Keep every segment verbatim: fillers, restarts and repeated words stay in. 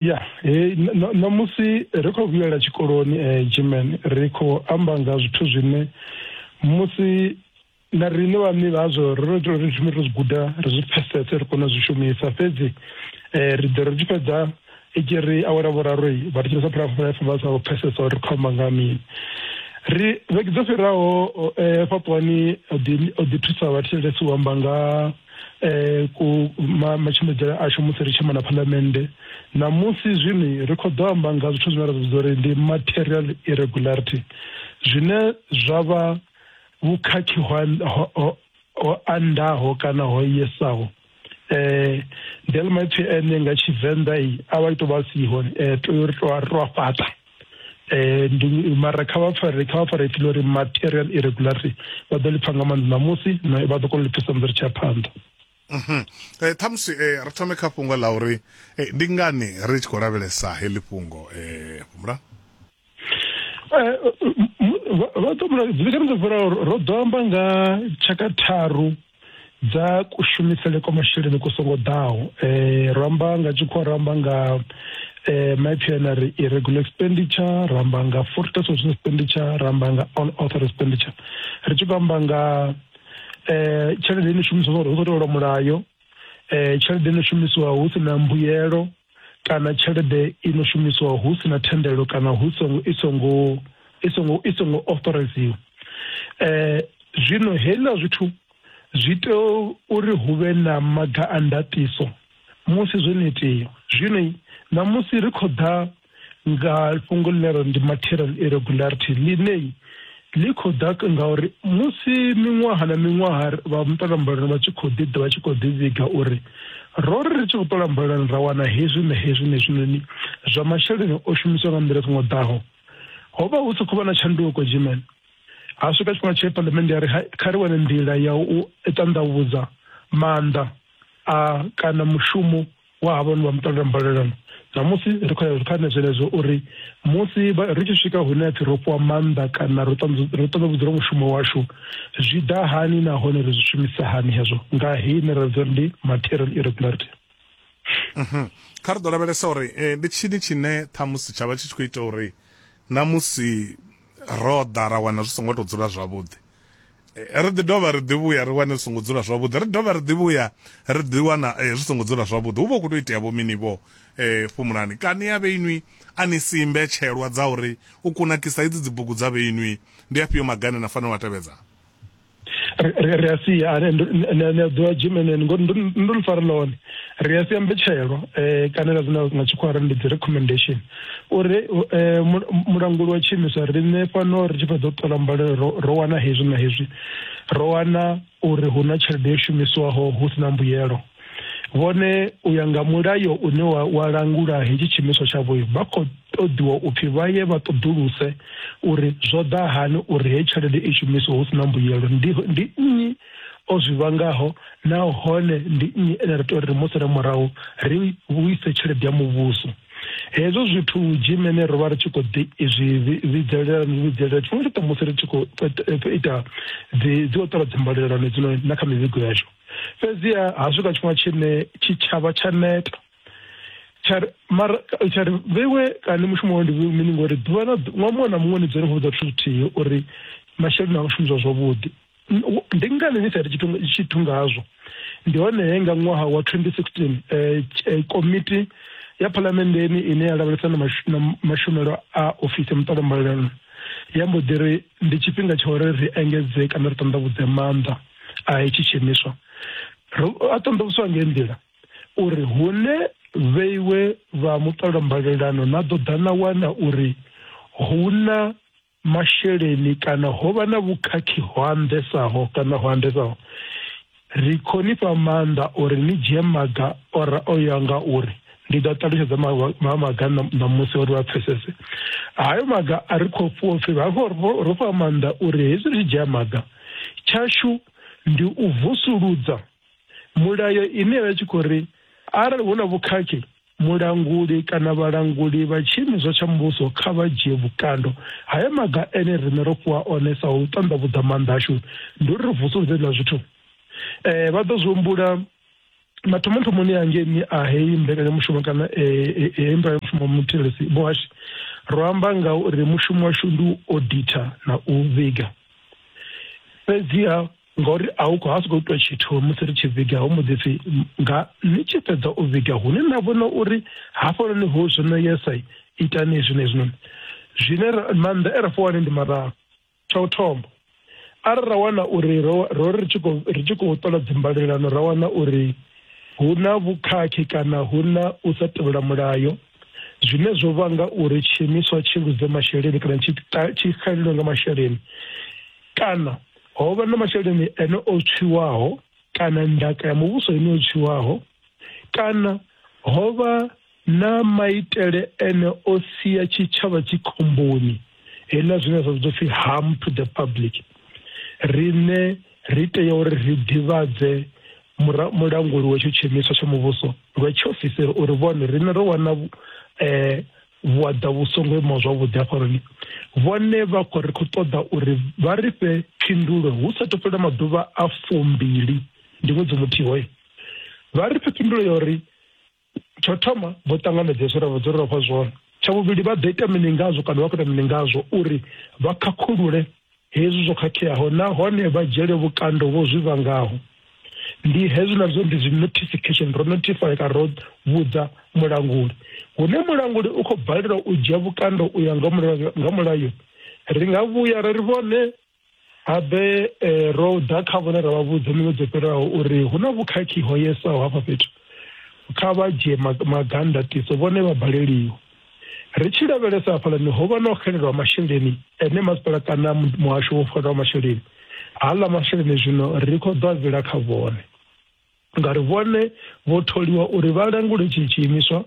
Ya, he ṋamusi ri khou vhuyela tshikoloni German, ri khou amba nga zwithu zwine musi na riṋe vhaṋe vhazwo ri ri ri thome ri zwi guda, ri zwi pfesese, ri kone u zwi shumisa. Fhedzi ri ḓo ri tshi fhedza i tshi ri awara vhuraru vha thetshelesa Phalaphala F M vha sa pfesesa uri ri khou amba nga mini. Ri vhege dzo fhiraho Fhaṱuwani o ḓi o ḓi thusa vhathetshelesi u amba nga eh ku matshimbidzele ashu musi ri tshi amba na phalamennde. Ṋamusi zwino ri khou ḓo amba nga zwithu zwine ra zwi vhidza uri ndi material irregularity, zwine zwa vha vhukhakhi ho ho andaho kana ho yesaho. Eh ndi aḽa maipfi ene nga Tshivenḓa a vha tou vha siho, tea uri ri to a fhaṱa. Eh ndi mara kha vha pfare kha vha pfare ipfi ḽa uri material irregularity vha ḓo ḽi pfa nga maanḓa ṋamusi, vha ḓo kona u ḽi pfesesa musi ri tshi ya phanḓa. Mhm. Eh ṱhamusi eh ri thome kha fhungo ḽa uri eh, ndi ngani ri tshi khou lavhelesa heḽi fhungo eh Fhumula? Eh vha ḓo mula dzivhekani dzo fhiraho ro ḓo amba nga tshaka tharu dza kushumisele kwa masheleni ku songo ḓaho. Eh ro amba nga tshikhuwa, ro amba nga eh maipfi ane a ri irregular expenditure, ro amba nga fraudulent expenditure, ro amba nga unauthorized expenditure. Ri tshi khou amba nga eh tshelede ino shumiswa hu khou tevhelwa mulayo, eh tshelede ino shumisiwa hu si na mbuyelo, kana tshelede ino shumisiwa hu si na thendelo kana hu songo i songo i songo i songo authoriziwa. Eh zwino heiḽa zwithu zwi tea uri hu vhe na maga a ndaṱiso musi zwo no itea. Zwino ṋamusi ri khou ḓa nga fhungo ḽine ra ndi material irregularity, ḽine ḽi khou ḓa ngauri musi miṅwaha na miṅwaha vha muṱolambalano vha tshi khou ḓi ḓa vha tshi khou ḓi vhiga uri ro ri ri tshi khou ṱola mbalelano ra wana hezwi na hezwi na hezwinoni zwa masheleni o shumiswa nga nḓila i songo ḓaho. Ho vha hu si khou vha na tshanduko German. Ha swika tshifhinga tshe phalamennde ya ri kha ri wane nḓila ya u ṱanḓavhudza maanḓa a kana mushumo wa havha vha muṱola mbalelano. Ṋamusi ri khou ya kha zwenezwo uri musi ri tshi swika hune ha pfhi ro fhiwa maanḓa kana ro ṱanḓavhudzela mushumo washu, zwi ḓa hani nahone ri zwi shumisa hani hezwo nga heyi ine ra vhidza uri ndi material irregularity. Mhm. Kha ri ḓo lavhelesa uri eh, ndi tshini tshine ṱhamusi tsha vha tshi tshi khou ita uri ṋamusi ro ḓa ra wana zwi songo tou dzula zwavhuḓi, ri ḓi dovha ri ḓi vhuya ri wane zwi songo dzula zwavhuḓi, ri dovha ri ḓi vhuya ri ḓi wana zwi songo dzula zwavhuḓi. Hu vha hu khou tou itea vho mini vho eh Fhumulani? Kani ya vheinwi a ni si mbetshelwa dza uri u kunakisa idzi dzibugu dza vheinwi ndi afhio magane na fanela u a tevhedza? Ri ri a sia ni a ḓivha German ngori ndo ḽi fara ḽone. Ri a sia mbetshelwa kana ra zwine nga tshikhuwa ri ndi dzi recommendation uri mulanguli wa tshiimiswa riṋe fhano ri tshi fhedza u ṱola mbalelo ro wana hezwi na hezwi, ro wana uri hu na tshelede yo shumisiwaho hu si na mbuyelo. Vhone u ya nga mulayo une wa, wa langula hetshi tshiimiswa tshavho vha khou ṱoḓiwa upfhi vha ye vha ṱoḓuluse uri zwo ḓa hani uri heyi tshelede i shumisiwe hu si na mbuyelo, ndi ndi nnyi o zwi vhangaho nahone ndi nnyi ene ra tea uri musi re murahu ri vhuise tshelede ya muvhuso. Hezwo zwithu Germany ro vha ri tshi khou ḓi zwi vhidzelela vhidzelela tshifhinga tshoṱhe musi ri tshi khou ita dzi dzi ṱola dzimbalelano dzino na kha mivhigo yashu. Fhedziha ha swika tshifhinga tshine tshitshavha tsha neta tsha mara tsha ri vheiwe kani mushumo wawe ndi mini, ngori ḓuvha na ṅwaha muṅwe na muṅwe ni dzule ni khou vhudza zwithu zwithihi uri masheleni a shumiswa zwavhuḓi, ndi ngani ni sa iti tshithu tshithu ngazwo? Ndi hone he nga ṅwaha wa twenty sixteen eh, komiti ya phalamenndeni ine ya lavhelesa na mashumelo a ofisi ya muṱola mbalelano ya mbo ḓi ri ndi tshifhinga tsha uri ri engedze kana ri ṱanḓavhudze maanḓa a hetshi tshiimiswa. A ṱanḓavhudzwa ngei nḓila uri hune vheiwe vha muṱola mbalelano na ḓo ḓa na wana uri hu na masheleni kana ho vha na vhukhakhi ho andesaho kana ho andesaho, ri khou ni fha maanḓa uri ni dzhie maga ora o ya nga uri ndi ḓo ṱalutshedza maga ṋamusi uri vha pfesese. Hayo maga a ri khou fhiwa pfhi ro fhiwa maanḓa uri hezwi ri tshi dzhia maga tshashu ndi u vusuludza mulayo ine ya vha tshi khou ri arali hu na vhukhakhi mulanguli kana vhalanguli vha tshiimiswa tsha muvhuso kha vha dzhie vhukando. Haya maga ene riṋe ro fhiwa one sa u ṱanḓavhudza maanḓa ashu ndi uri ri vusuludze hezwiḽa zwithu. Eh vha ḓo zwi humbula Mathomothomoni angeni a heyi mbekanyamushumo kana heyi mbekanyamushumo muthetshelesi muhashi ro amba nga uri mushumo washu ndi u auditor na u vhiga. Fhedziha ngauri a hu khou ha sokou itwa tshithu musi ri tshi vhiga ho mbo ḓi pfhi nga ni tshi fhedza u vhiga hune na vhona uri hafhanoni ho zwino yesa itani hezwi na hezwinoni. Zwine maanḓa e ra fhiwa one ndi mararu. Tsha u thoma, arali ra wana uri ro ri tshi khou ri tshi khou ṱola dzimbalelano ra wana uri hu na vhukhakhi kana hu na u sa tevhela mulayo zwine zwo vhanga uri tshiimiswa tshi luze masheleni kana tshi tshi xelelwe nga masheleni, kana ho vha na masheleni ene o tswiwaho kana ndaka ya muvhuso ine o tswiwaho, kana ho vha na maitele ene o sia tshitshavha tshi khomboni, heiḽa zwine zwa vhidzwa pfhi harm to the public, riṋe ri tea uri ri ḓivhadze mulanguli wa etsho tshiimiswa tsha muvhuso lwa tshiofisiri uri vhone riṋe ro wana eh vhuaḓa vhu songo imaho zwavhuḓi hafhanoni. Vhone vha khou ri khou ṱoḓa uri vha ri fhe phindulo hu sathu fhela maḓuvha a fumbili, ndi ṅwedzi muthihi hoyo. Vha ri fhe phindulo ya uri tsho thoma vho ṱanganedza hezwo ra vha dzo ri fha zwone, tsha vhuvhili vha ḓo ita mini ngazwo kana vha khou ita mini ngazwo uri vha khakhulule hezwi zwo khakheaho nahone vha dzhiele vhukando vho zwi vhangaho. Ndi hezwi nazwo ndi zwi notification, ro notify kana ro vhudza mulanguli. Hune mulanguli u khou balelwa u dzhia vhukando u ya nga mulayo nga mulayo, ri nga vhuya ra ri vhone habe ro ḓa kha vhone ra vha vhudza miṅwedzi yo fhiraho uri hu na vhukhakhi ho yesaho hafha fhethu, kha vha dzhie magandatiso, vhone vha baleliwa. Ri tshi lavhelesa hafhaḽani ho vha na u xelelwa masheleni ene masipala kana muhasho wo xelelwa masheleni, haḽa masheleni zwino ri khou ḓo a vhila kha vhone ngauri vhone vho tholiwa uri vha langule tshi tshiimiswa.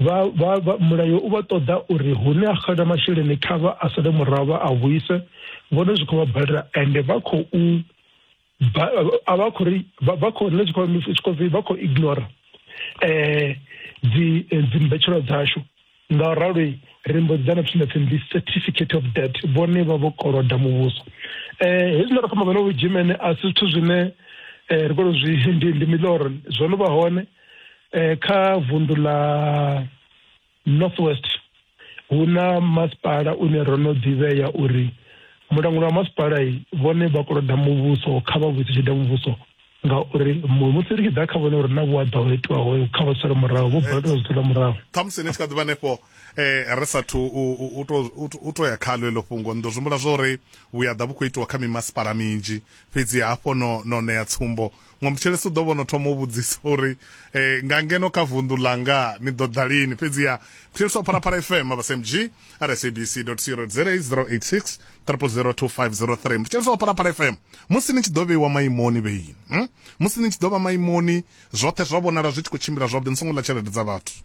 Vha vha mulayo u vha ṱoḓa uri hune a xela masheleni kha vha a sale murahu vha a vhuise, vhone zwi khou vha balela ende vha khou a vha khou ri vha khou nṋe tshi khou vha khou ignora eh dzi dzimbetshelo dzashu. Ngauralo ri mbo ḓi ḓa na pfhi na pfhi ndi certificate of debt, vhone vha vho koloda muvhuso. Eh hezwi nda khou amba vho Germany a si zwithu zwine ri khou zwi ndi ndi miloro, zwo no vha hone kha vundu ḽa Northwest. Hu na masipala une ro no ḓivhea uri mulanguli wa masipala vhone vha koloda muvhuso, kha vha vhuise tshelede muvhuso, ngauri musi ri tshi ḓa kha vhone uri na vhuaḓa ho itiwaho kha vha sale murahu, vho balelwa zwi sala murahu. Ṱhamusi ni tshi kha ḓi vha hanefho eh ri sathu u to ya khalo eḽo fhungo, ndo zwi humbula zwa uri vhuyaḓa vhu khou itiwa kha mimasipala minzhi, fhedzi hafho no no ṋea tsumbo muṅwe muthetshelesi u ḓo vhona thoma u vhudzisa uri eh nga ngeno kha vunḓu langa ni ḓo ḓa lini. Fhedziha muthetshelesi wa Phalaphala F M S M G at S A B C dot co dot za zero eight six triple zero two five zero three. Muthetshelesi wa Phalaphala F M, musi ni tshi ḓo vheiwa maimoni vheini, hmm? musi ni tshi ḓo vha maimoni zwoṱhe zwa vhonala zwi tshi khou tshimbila zwavhuḓi, ni songo ḽa tshelede dza vhathu,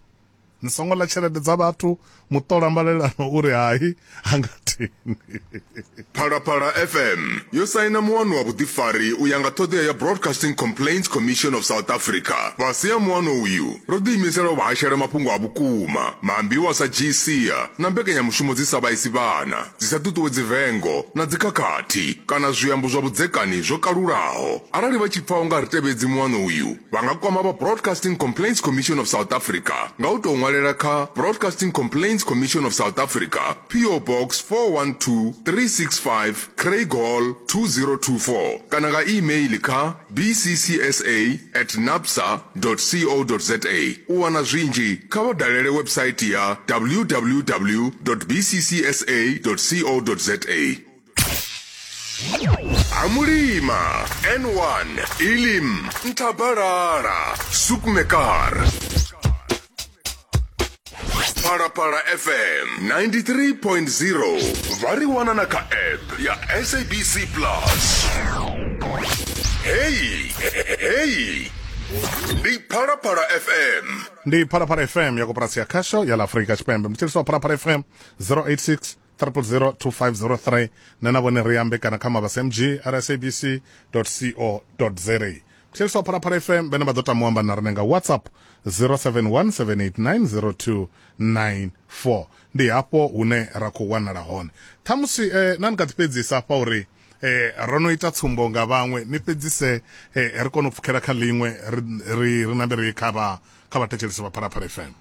ni songo ḽa tshelede dza vhathu. Muṱola mbalelano uri hai hanga teni. Phalaphala F M yo saina muano wa vhuḓifari u ya nga ṱhoḓea ya Broadcasting Complaints Commission of South Africa. Fhasi ha muano uyu ro ḓiimisela u vha hashela mafhungo a vhukuma, maambiwa sa G C na mbekanyamushumo dzi sa vhaisi vhana, dzi sa ṱuṱuwedzi vengo na dzikhakhathi kana zwiambo zwa vhudzekani zwo kalulaho. Arali vha tshi pfa u nga ri tevhedzi muano uyu, vha nga kwama vha Broadcasting Complaints Commission of South Africa nga u tou ṅwalela kha Broadcasting Complaints Commission of South Africa, P O Box four one two three six five, Craig Hall two zero two four, kana nga email kha b c c s a at napsa dot co dot za. U wana zwinzhi kha vha dalele website ya w w w dot b c c s a dot co dot za. Amulima N one Elim Ntabarara Sukmekar. Phalaphala F M ninety-three point zero. Vha ri wana na kha app ya S A B C Plus. Hey, hey. Ndi Phalaphala F M. Ndi Phalaphala F M ya koporasi ya khasho ya la Afrika Tshipembe. Muthetshelesi wa Phalaphala F M zero eight six triple zero two five zero three. Nṋe na vhone ri ambe kana kha mabasa M G at S A B C dot co dot za. Muthetshelesi wa Phalaphala F M vhene vha ḓo tama u amba na riṋe nga WhatsApp zero seven one seven eight nine zero two nine four. Ndi hafho hune ra khou wanala hone. Ṱhamusi eh, na ni nga ḓi fhedzisa hafha uri Eh ro no ita tsumbo nga vhaṅwe ni fhedzise eh, ri kone u pfukela kha ḽiṅwe ri ri nambe ri kha vha kha vhathetshelesi vha Phalaphala F M.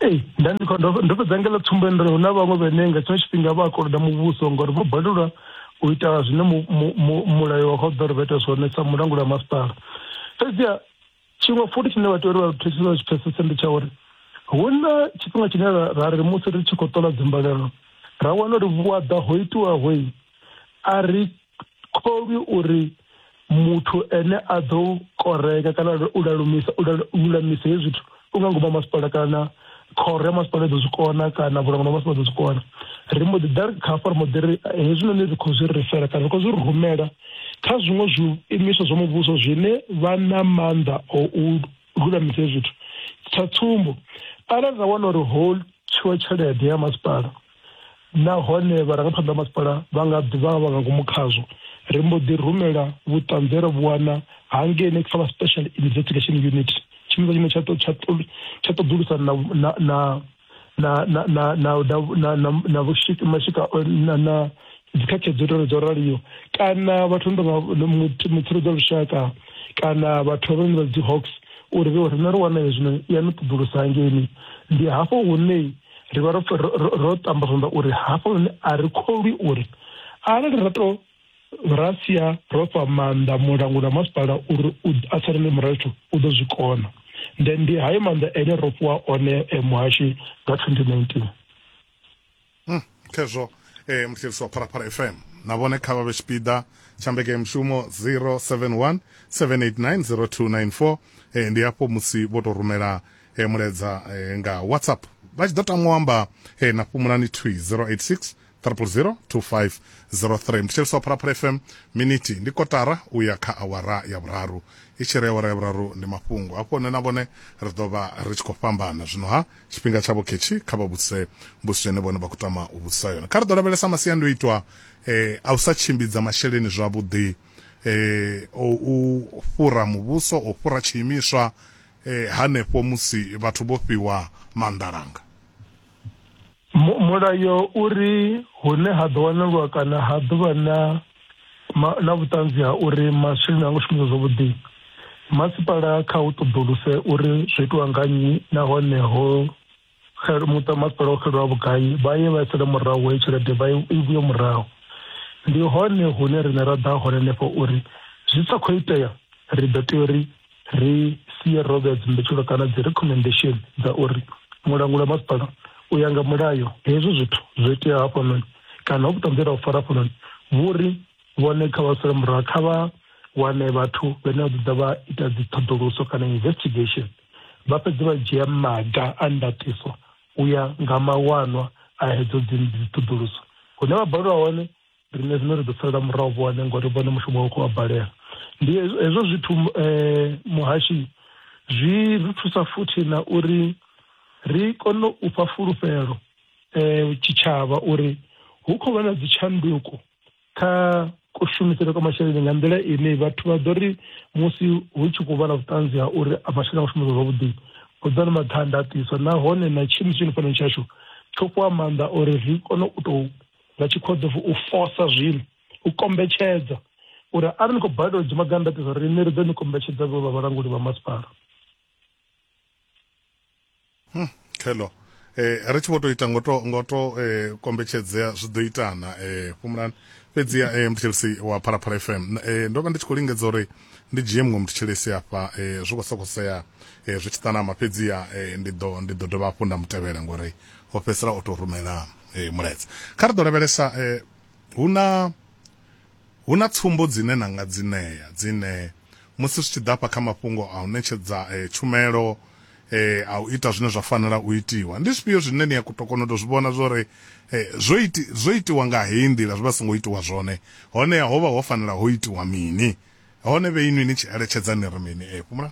Ee, nda ndi khou ndo fhedza ngela tsumbo uri hu na vhaṅwe vhane nga tshiṅwe tshifhinga vha koloda muvhuso ngori vho balelwa u ita zwine mulayo wa khou ḓo ri vha ita zwone sa mulanguli wa masipala. Fhedziha tshiṅwe futhi tshine vha tea uri vha thetshelese vha tshi pfesese ndi tsha uri hu na tshifhinga tshine ra ri musi ri tshi khou ṱola dzimbalelo ra wana uri vhuaḓa ho itiwaho a ri kholwi uri muthu ene a ḓo koreka kana u lalumisa u lulamisa hezwi zwithu u nga ngoma masipala kana khoro ya masipala i ḓo zwi kona kana vhulanguli ha masipala ḓo zwi kona. Ri mbo ḓi ḓa kha hafha ri mbo ḓi ri hezwinoni ri khou zwi rifela kana ri khou zwi rumela kha zwiṅwe zwiimiswa zwa muvhuso zwine vha na maanḓa o u lulamisa hezwi zwithu. Sa tsumbo, arali ra wana uri ho tshiwa tshelede ya masipala nahone vharangaphanḓa vha masipala vha nga ḓi vha vha nga ngomu khazwo, ri mbo ḓi rumela vhuṱanzi ra vhu wana hangeini kha vha Special Investigation Unit, tshiimiswa tshine tsha tsha tsha ṱoḓulusa na na na na na na na na na vhushika mashika na na dzikhakhi dzo dzo raliho, kana vhathu ndo mutsireledzi wa lushaka kana vhathu vhane vha dzi Hawks, uri vhe riṋe ri wana hezwino ya no ṱoḓulusa hangeini. Ndi hafho hune ri vha ro tamba zwanḓa uri hafho hune a ri kholwi uri arali ra to ra sia ro fha maanḓa mulanguli wa masipala uri a salele murahu u ḓo zwi kona. Then ndi hayo maanḓa ene ro fhiwa one muhashi nga twenty nineteen. Mm, khezwo eh muthetshelesi wa Phalaphala F M na vhone kha vha vhe tshipiḓa tsha mbekanyamushumo zero seven one seven eight nine zero two nine four. Eh, ndi hafho musi vho to rumela eh, mulaedza eh, nga WhatsApp vha tshi ḓo tama u amba eh, na Fhumulani thwi zero eight six triple zero two five zero three. Muthetshelesi wa Phalaphala F M, miniti ndi kotara u ya kha awara ya vhuraru. I tshi ri awara ya vhuraru ndi mafhungo hafho nṋe na vhone ri ḓo vha ri tshi khou fhambana. Zwino ha tshifhinga tshavho khetshi kha vha vhudzise mbudziso ine vhone vha khou tama u vhudzisa yone. Kha ri ḓo lavhelesa masiandoitwa eh, a u sa tshimbidza masheleni zwavhuḓi, eh, o u fhura muvhuso, o fhura tshiimiswa eh, hanefho musi vhathu vho fhiwa maanḓalanga. Mulayo uri hune ha ḓo wanalwa kana ha ḓo vha na na vhuṱanzi ha uri masheleni a ngo shumiswa zwavhuḓi, masipala kha u ṱoḓuluse uri zwo itiwa nga nnyi nahone ho muṱa masipala o xelelwa vhugai, vha ye vha sele murahu heyo tshelede vha i vhuye murahu. Ndi hone hune riṋe ra ḓa hone henefho uri zwi sa khou itea ri ḓo tea uri ri sie ro vhea dzimbetshelo kana dzi recommendation dza uri mulanguli wa masipala u ya nga mulayo hezwi zwithu zwo itea hafhanoni kana ho vhuṱanzi ra u fara hafhanoni vhuri vhone kha vha sele murahu, kha vha wane vhathu vhane vha ḓo vha ita dzi ṱhoḓuluso kana investigation, vha fhedze vha dzhia maga a ndaṱiso u ya nga mawanwa a hedzo dzi ṱhoḓuluso. Hune vha balelwa hone riṋe zwino ri ḓo salela murahu vhone ngori vhone mushumo wavho khou vha balela. Ndi hezwo zwithu muhashi zwi ri thusa futhi na uri ri kone u fha fulufhelo tshitshavha uri hu khou vha na dzi tshanduko kha kushumisele kwa masheleni nga nḓila ine vhathu vha ḓo ri musi hu tshi khou vha na vhuṱanzi ha uri masheleni a khou shumiswa zwavhuḓi, hu ḓo na maga a ndaṱiso nahone na tshiimiswa tshine fhano tshashu tsho fhiwa maanḓa uri ri kone u tou nga tshikhoḓo u fosa zwino u kombetshedza uri arali ni khou balelwa u dzhia maga a ndaṱiso riṋe ri ḓo ni kombetshedza vho vha vhalanguli vha masipala. Hmm, khelo eh ri tshi vho to ita ngoto ngoto eh kombetshedzea zwi ḓo itana eh Fhumulani. Fhedziha eh muthetshelesi wa Phalaphala F M, eh ndo vha ndi tshi khou lingedza uri ndi dzhie muṅwe muthetshelesi afha eh zwi khou sokosea eh zwi tshi ṱanama, fhedziha eh ndi ḓo ndi ḓo dovha hafhu nda mutevhela ngori o fhedzisela o to rumela eh mulaedza. Kha ri ḓo lavhelesa eh hu na hu na tsumbo dzine na nga dzi ṋea dzine musi zwi tshi ḓa hafha kha mafhungo a u ṋetshedza eh tshumelo eh a u ita zwine zwa fanela u itiwa, ndi zwifhio zwine ni ya kona u to zwi vhona zwori eh zwo iti zwo itiwa nga heyi nḓila zwi vha songo itiwa zwone, hone ho vha ho fanela ho itiwa mini, hone vhe inwi ni tshi eletshedza ni ri mini? Eh Fhumula.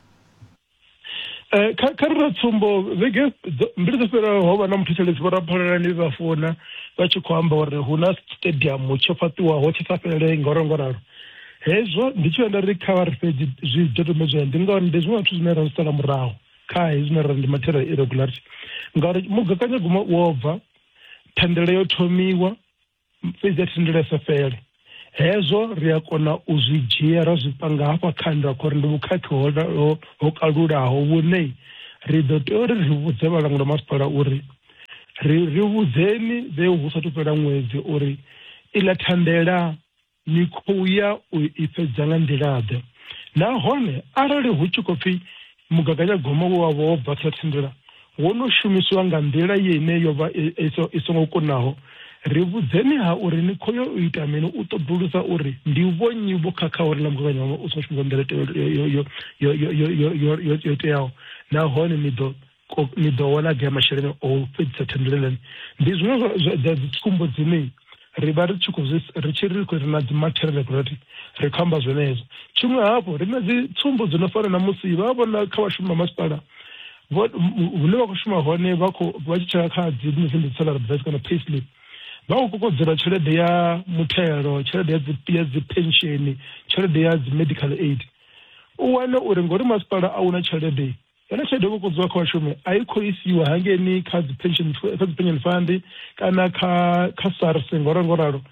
Eh kha kha ri tsumbo vhege mbili dzo fhiraho ho vha na muthetshelesi vho Raphalelani vha founa vha tshi khou amba uri hu na stadium tsho fhaṱiwaho tshi sa fhelele ngoro ngoralo. Hezwo ndi tshi enda ri kha vha ri fhedzi zwidodombedzwa ndi ngauri ndi zwiṅwe zwithu zwine ra zwi sala murahu kha hezwi zwine ra ndi material irregularity, ngauri mugaganyagwama wo bva, thendelo yo thomiwa fhedzi ya thendelo ya sa fhele. Hezwo ri a kona u zwi dzhia ra zwi panga hafha kha nda khori ndi vhukhakhi ho ho kalulaho vhune ri ḓo tea uri ri vhudze vhalanguli vha masipala uri ri ri vhudzeni vhe hu sathu fhela ṅwedzi uri iḽa thandela ni khou ya u i fhedza nga nḓila ḓe. Nahone arali hu tshi khou pfhi mugaganyagwama we wa vha wo bva kha thandela wo no shumisiwa nga nḓila yene yo vha i songo kunaho, ri vhudzeni ha uri ni khou yo u ita mini u ṱoḓulusa uri ndi vhonnyi vho khakha uri ḽa mugaganyagwama u songo shumiswa nḓila yo yo yo yo yo yo yo teaho, nahone ni ḓo ni ḓo wana gai masheleni o fhedzisa thandela. Ndi zwiṅwe zwa dzi tsumbo dzine ri vha ri tshi khou ri tshi ri khou ri na dzi material regulatory ri khou amba zwenezwo. Tshiṅwe hafhu ri na dzi tsumbo dzo no fana na musi vha vhona kha vhashumi vha masipala hune vha khou shuma hone vha khou vha tshi tshela kha dzi dzi salary advice kana pay slip, vha khou kokodzela tshelede ya muthelo, tshelede ya dzi ya dzi pension, tshelede ya dzi medical aid. U wane uri ngori masipala a una tshelede, yone tshelede yo kokodziwa kha vhashumi a i khou isiwa hangeini kha dzi pension kha dzi pension fund kana kha kha SARS ngoro ngoralo.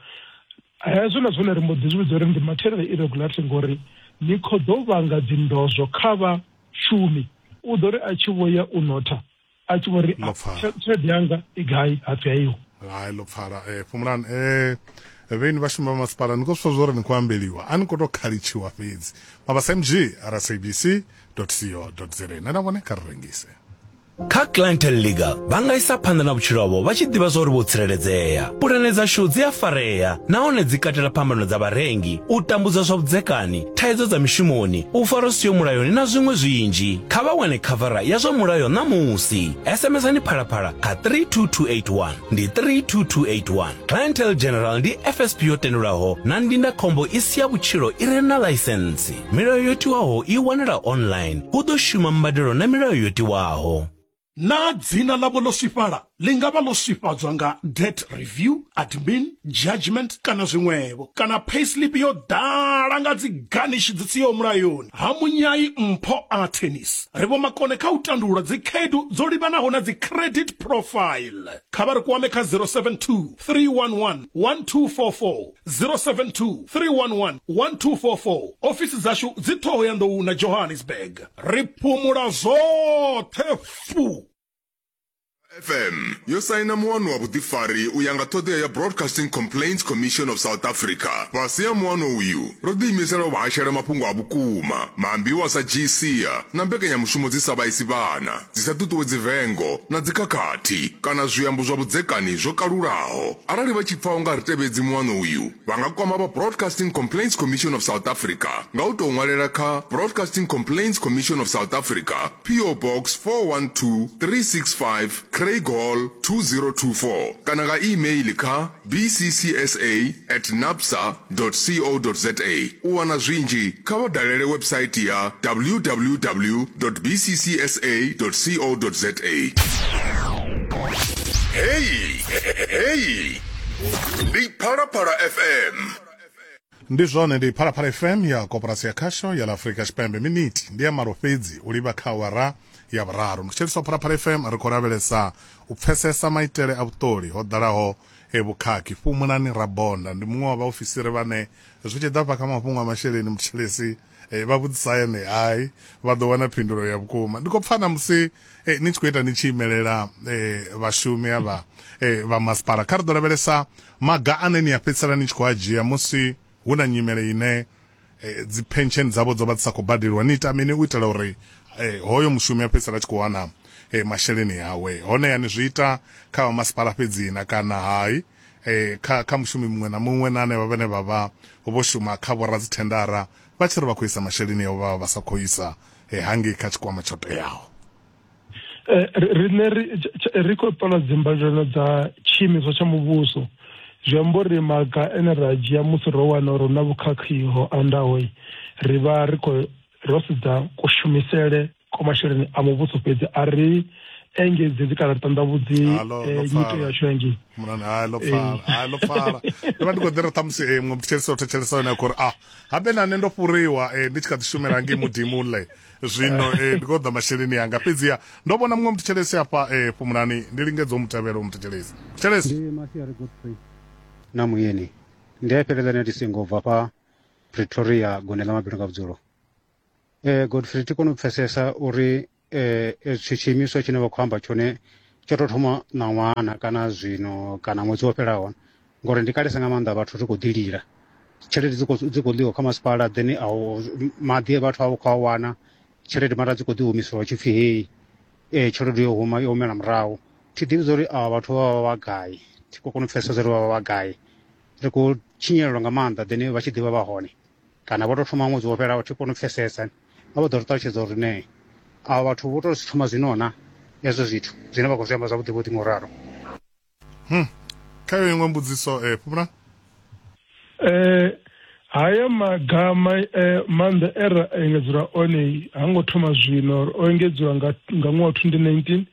Hezwo na zwone ri mbo ḓi zwi vhidza uri ndi material irregularity ngori ni khou ḓo vhanga dzindozwo kha vhashumi. U ḓo ri a tshi vho ya u notha a tshi vho ri tshelede yanga i gai, hapfi aiho. Hai ḽo pfala. Eh Fhumulani, eh vheni vhashumi vha masipala ni khou zwi pfa zwa uri ni khou ambeliwa, a ni khou tou khalitshiwa fhedzi. Mabasa M G R S A B C dot co dot za. Na na vhone kha ri rengise. Kha Clientele Legal vha nga isa phanḓa na vhutshilo havho vha tshi ḓivha zwa uri vho tsireledzea. Pulane dzashu dzi a farea nahone dzi katela phambano dza vharengi, u tambudza zwa vhudzekani, thaidzo dza mishumoni, u farwa zwi siho mulayoni na zwiṅwe zwinzhi. Kha vha wane khavara ya zwa mulayo ṋamusi. S M S-ani Phalaphala kha three two two eight one, ndi three two two eight one. Clientele General ndi F S P yo tendelwaho na ndindakhombo i si ya vhutshilo i re na ḽaisentsi. Milayo yo tiwaho i wanala online. Hu ḓo shuma mbadelo na milayo yo tiwaho. Na dzina ḽavho ḽo swifhala ḽi nga vha ḽo swifhadzwa nga debt review, admin, judgment kana zwiṅwevho, kana payslip yo ḓala nga dzi garnish dzi siho mulayoni. Ha Munyai Mpho a Tennis ri vho makone kha u tandulula dzi khaedu dzo livhanaho na dzi credit profile. Kha vha ri kwame kha zero seven two, three one one, one two four four, zero seven two, three one one, one two four four. Ofisi dzashu dzi Thohoyandou na Johannesburg. Ri phumula zwoṱhe fu. F M yo saina muano wa vhuḓifari u ya nga ṱhoḓea ya Broadcasting Complaints Commission of South Africa. Fhasi ha muano uyu ro ḓiimisela u vha hashela mafhungo a vhukuma, maambiwa sa G C na mbekanyamushumo dzi sa vhaisi vhana, dzi sa ṱuṱuwedzi vengo na dzikhakhathi kana zwiambo zwa vhudzekani zwo kalulaho. Arali vha tshi pfa u nga ri tevhedzi muano uyu, vha nga kwama vha Broadcasting Complaints Commission of South Africa nga u tou ṅwalela kha Broadcasting Complaints Commission of South Africa, P O Box four one two three six five, Craig Hall two zero two four kana nga email kha b c c s a at napsa dot co dot za. U wana zwinzhi kha vha dalele website ya w w w dot b c c s a dot co dot za. Hey, hey, ndi Phalaphala F M. Ndi zwone, ndi Phalaphala F M ya Koporasi ya Khasho ya Afrika Tshipembe. Miniti ndi ya malo fhedzi u livha kha awara ya vhuraru. Mutsheliso Phalaphala F M ri khou lavhelesa u pfesesa maitele a vhuṱoli ho ḓalaho e vhukhakhi. Fhumulani Rabonda ndi muṅwe wa vhaofisiri vhane zwi tshi ḓa fha kha mafhungo a masheleni mutshilesi e, vha vhudzisa ene hai vha ḓo wana phindulo ya vhukuma. Ndi khou pfa na musi e, ni tshi khou ita ni tshi imelela e, vhashumi avha e, vha masipala. Kha ri ḓo lavhelesa maga ane ni a fhedzisela ni tshi khou a dzhia musi hu na nyimele ine e, dzi pension dzavho dzo vha dzi sa khou badeliwa. Ni ita mini u itela uri e, hoyo mushumi a fhedzisela tshi khou wana e, masheleni awe? Hone yani zwi ita kha masipala fhedzi na kana hai e, kha, kha mushumi muṅwe na muṅwe na hanevha vhane vha vha vho shuma kha vhoradzithendara vha tshi ri vha khou isa masheleni avho vha vha sa khou isa e, hangei kha tshikwama tsho teaho. Riṋe ri khou ṱola dzimbadelo dza tshiimiswa tsha muvhuso. Zwi amba uri maga ane ra dzhia musi ro wana uri hu na vhukhakhi ho andaho, ri vha ri khou ro sedza kushumisele kwa masheleni a muvhuso fhedzi, a ri engedzedzi kana ri ṱanḓavhudzi nyito yashu hangei. Mulani, hai ḽo pfala, hai ḽo pfala. Ndi vha ndi khou ḓi ri ṱhamusi eh, muṅwe mutshetshelesi o thetshelesa hone a khou ri ah habe na nṋe ndo fhuriwa eh, ndi tshi kha ḓi shumela ngei Mudimule zwino eh, ndi khou ḓa masheleni anga. Fhedziha ndo vhona muṅwe mutshetshelesi afha eh, Fhumulani, ndi lingedza u mu tevhela u mutshetshelesi. Mutshetshelesi ndi Masiari Godfrey na Muyeni. Ndi a fhelela ndi singo bva fha Pretoria gone ḽa mabindu nga vhudzulo. Eh Godfrey thi koni u pfesesa uri eh tshi tshiimiswa tshine vha khou amba tshone tsho tou thoma ṋaṅwana kana zwino kana ṅwedzi wo fhelaho, ngori ndi kalesa nga maanḓa vhathu ri khou ḓi lila. Tshelede dzi khou dzi khou ḽiwa kha masipala, then a maḓi vhathu a vha khou a wana, tshelede mara dzi khou ḓi humisiwa tshi pfhi hei eh tshelede yo huma yo humela murahu. Thi ḓivhi uri avha vhathu vha vha vha gai, thi khou kona u pfesesa uri vha vha vha gai. Ri khou tshinyalelwa nga maanḓa then vha tshi ḓivha vha hone kana vho tou thoma ṅwedzi wo fhelaho, thi koni u pfesesa. A vha ḓo ri ṱalutshedza uri ne avha vhathu vho tou thoma zwino na hezwo zwithu zwine vha khou zwi amba zwavhuḓi vhuḓi ngauralo. Hmm. Kha yo iṅwe mbudziso eh Phumula. Eh haya maga maanḓa e ra engedzelwa one ha ngo thoma zwino, o engedziwa nga nga ṅwaha twenty nineteen.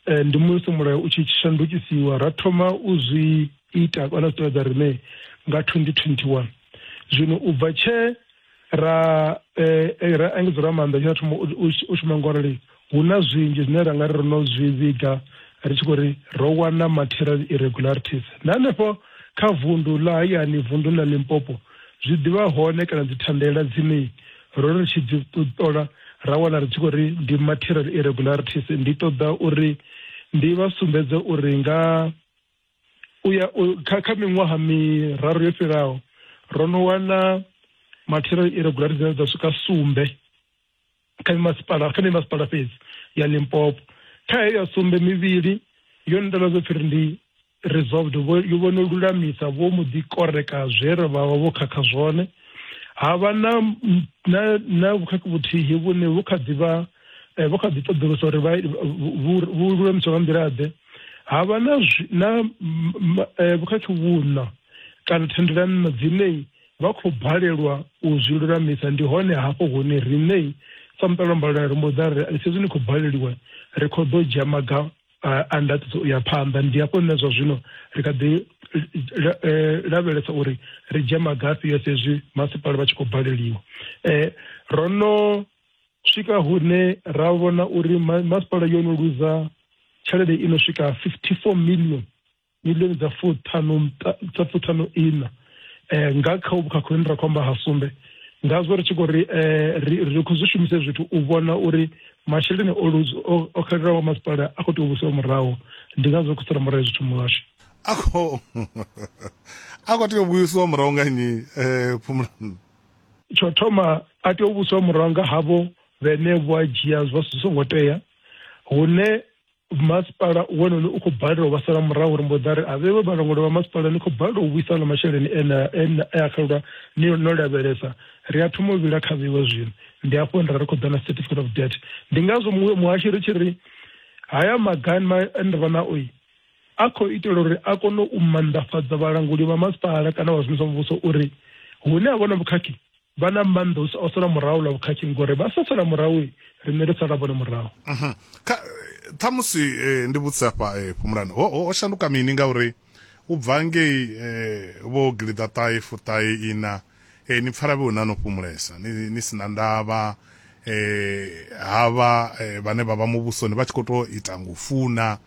Eh ndi musi mulayo u tshi shandukisiwa ra thoma u zwi ita kana zwi tevhedza riṋe nga twenty twenty one. Zwino u bva tshe ra eh ra engedzelwa maanḓa tsha thoma u shuma ngorali hu na zwinzhi zwine ra nga ri ro no zwi vhiga ri tshi khou ri ro wana material irregularities. Na hanefho kha vundu ḽa hayani, vundu ḽa Limpopo, zwi ḓivha hone kana dzi thandela dzine ro ri tshi dzi ṱola ra wana ri tshi khou ri ndi material irregularities. Ndi ṱoḓa uri ndi vha sumbedze uri nga uya kha kha miṅwaha miraru yo fhiraho ro no wana material irregularities dza swika sumbe kha masipala kha masipala fhedzi ya Limpopo. Kha heyo ya sumbe mivhili yo ndela zwo pfhi ndi resolved, yo vhono lulamisa vho muḓi koreka zwe ra vha vho khakha zwone. Ha vha na na na vhukhakhi vhuthihi vhune vhu kha ḓivha vho kha ḓi ṱoḓulusa uri vhu lulamiswa nga nḓila ḓe. Ha vha na na vhukhakhi vhuṋa kana thendelano dzine vha khou balelwa u zwi lulamisa. Ndi hone hafho hune riṋe sa muṱalombalwa ri mbo ḓa ri sezwi ni khou baleliwa ri khou ḓo dzhia maga a ndaṱiso u ya phanḓa. Ndi hafho nṋe zwa zwino ri kha ḓi lavhelesa uri ri dzhia maga afhio sezwi masipala vha tshi khou baleliwa. Ro no swika hune ra vhona uri masipala yo no luza tshelede i no swika fifty four million milioni dza fuṱhanu dza fuṱhanu ina nga kha vhukhakhi hune ra khou amba ha sumbe. Ngazwo ri tshi khou ri ri khou zwi shumisa zwithu u vhona uri masheleni o luzo o xelelwaho masipala a khou tea u vhusiwa murahu. Ndi ngazwo khou sala murahu zwithu muhasho a khou a khou tea u vhuisiwa murahu nga nnyi eh Phumula? Tsho thoma a tea u vhusiwa murahu nga havho vhene vho a dzhia zwa zwi songo tea, hune masipala wone u khou balelwa vha sala murahu uri mbo ḓa ri a vhe vhalanguli vha masipala ni khou balelwa u vhuisa na masheleni ene e a xelelwa ni no lavhelesa. Ri a thoma u vhila kha vhiwe zwino. Ndi hafho nda ri khou ḓa na certificate of debt. Ndi ngazwo muhashi ri tshi ri haya maga ane ra vha nao a khou itela uri a kone u maanḓafhadza vhalanguli vha masipala kana vha zwimisa muvhuso uri hune ha vha na vhukhakhi vha na maanḓa o sala murahu ḽa vhukhakhi, ngori vha sa sala murahu riṋe ri sala vhone murahu. Ṱhamusi ndi vhudzisa afha Phumulani, ho shanduka mini ngauri u bva ngei vho gilida ṱahe fuṱahe ina ni pfala vhe na no fhumulesa ni sina ndavha havha vhane vha vha muvhusoni vha tshi khou tou ita ngufuna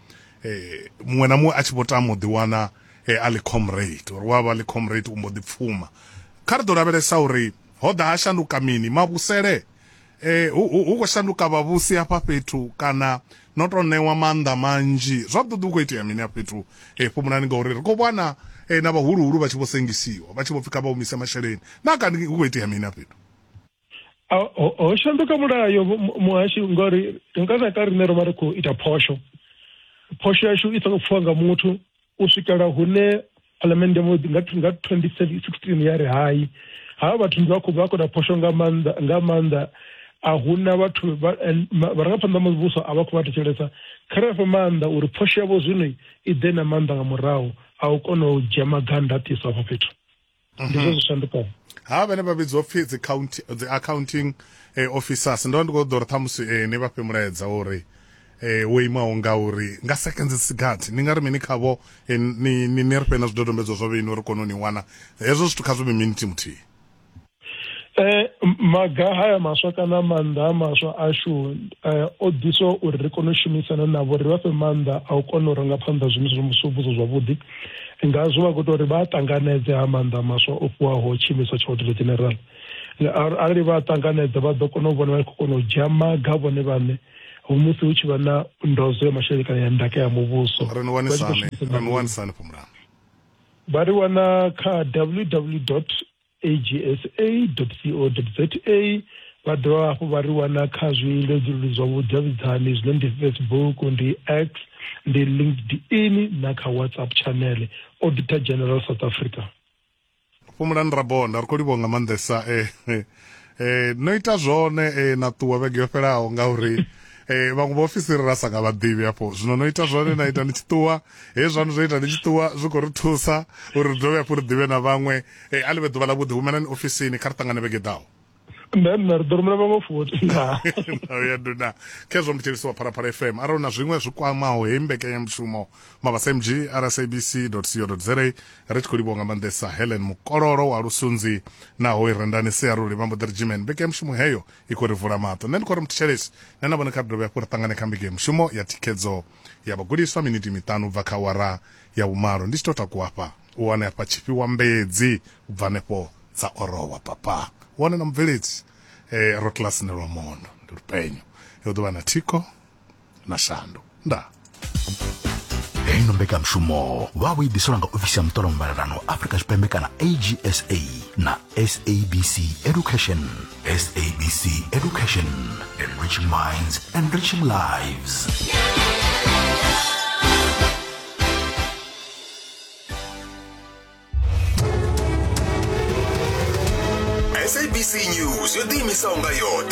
muṅwe na muṅwe a tshi vho tama u ḓiwana a ḽi comrade uri wa vha ḽi comrade u mbo ḓi pfuma. Kha ri ḓo lavhelesa uri ho ḓa ha shanduka mini mavhusele eh hu khou shanduka vhavhusi hafha fhethu kana no tou ṋewa maanḓa manzhi zwavhuḓi hu khou itea mini hafha fhethu eh Phumulani, ngauri ri khou vhona na vhahuluhulu vha tshi vho sengisiwa vha tshi vho pfhi kha vha humise masheleni na kani hu khou itea mini hafha fhethu? Ho shanduka mulayo muhashi, ngori nga na ka riṋe ro vha ri khou ita phosho phosho yashu i songo pfhiwa nga muthu u swikela hune phalamennde nga twenty sixteen ya ri hai havha vhathu ndi vha khou vha khou ita phosho nga maanḓa nga maanḓa a huna vhathu vharangaphanḓa muvhuso a vha khou vha thetshelesa. Kha ri fhe maanḓa uri phosho yavho zwino i ḓe na maanḓa nga murahu a u kona u dzhia maga a ndaṱiso afho fhethu. Ndi zwo zwi shandukaho. Ha vhane vha vhidzwa pfhi dzi account dzi accounting officers ndo ndi khou ḓo uri ṱhamusi ni vha fhe mulaedza uri eh wo imaho nga uri nga seconds sigathi ni nga ri mini khavho ni ni ri fhe na zwidodombedzwa zwa vheni uri kone u ni wana hezwo zwithu kha zwi vhe miniti muthihi. Eh maga haya maswa kana maanḓa maswa ashu o ḓiswa uri ri kone u shumisana navho, ri vha fhe maanḓa a u kona u ranga phanḓa zwiimiswa zwa muvhuso zwavhuḓi. Ngazwo vha khou ita uri vha ṱanganedze ha maanḓa maswa o fhiwaho tshiimiswa tsha Auditor General. Arali vha ṱanganedza vha ḓo kona u vhona vha khou kona u dzhia maga vhone vhaṋe musi hu tshi vha na ndodzo ya masheleni kana ya ndaka ya muvhuso. Ri ni wanisani, ri ni wanisani Fhumulani? Vha ri wana kha w w w dot a g s a dot co dot z a. Vha dovha hafhu vha ri wana kha zwileludzi zwa vhudavhidzani zwine ndi Facebook, ndi X, ndi LinkedIn na kha WhatsApp channel Auditor General South Africa. Fhumulani Rabonda, ri khou livhuwa nga maanḓesa eh, eh, no ita zwone eh, na ṱuwa vhege yo fhelaho ngauri eh, vhaṅwe vhaofisiri ra sa nga vha ḓivhi afho. Zwino no ita zwone na ita ni tshi ṱuwa, hezwi zwaṋu zwo ita ni tshi ṱuwa zwi khou ri thusa uri ri dovhe hafhu ri ḓivhe na vhaṅwe. Eh, a ḽi vhe ḓuvha ḽa vhuḓi, humelani ofisini, kha ri ṱangane vhege ḓaho. Nṋe nṋe ri ḓo rumela vhaṅwe futhi. Ya nduna khezwo muthelisi wa Phalaphala F M. Arali na zwiṅwe zwi kwamaho heyi mbekanyamushumo mabasa m g r s a b c dot co dot z a. Ri tshi khou livhuwa nga maanḓesa Helen Mukololo wa Lusunzi naho i Rendani Siaruli vha mbo ḓi ri Gmen. Mbekanyamushumo heyo i khou ri vula maṱo. Nṋe ndi khou ri muthelisi nṋe na vhone kha ri dovhe hafhu ri ṱangane kha mbekanyamushumo ya thikhedzo ya vhagudiswa miniti miṱanu u bva kha awara ya vhumalo. Ndi tshi tou takuwa hafha u wane hafha tshifhiwa mbedzi u bva hanefho dza orowa papa. Wane na mubveledzi eh, ro kilasini lwa mondo ndi lupenyo yo ḓo vha na thikho na shandu nda. Heino mbekanyamushumo vha vho i ḓiselwa nga ofisi ya muṱolo mbalelano Afrika Tshipembe kana A G S A na S A B C Education. S A B C Education, enriching minds, enriching lives. S A B C News yo ḓiimisaho nga yoṱhe.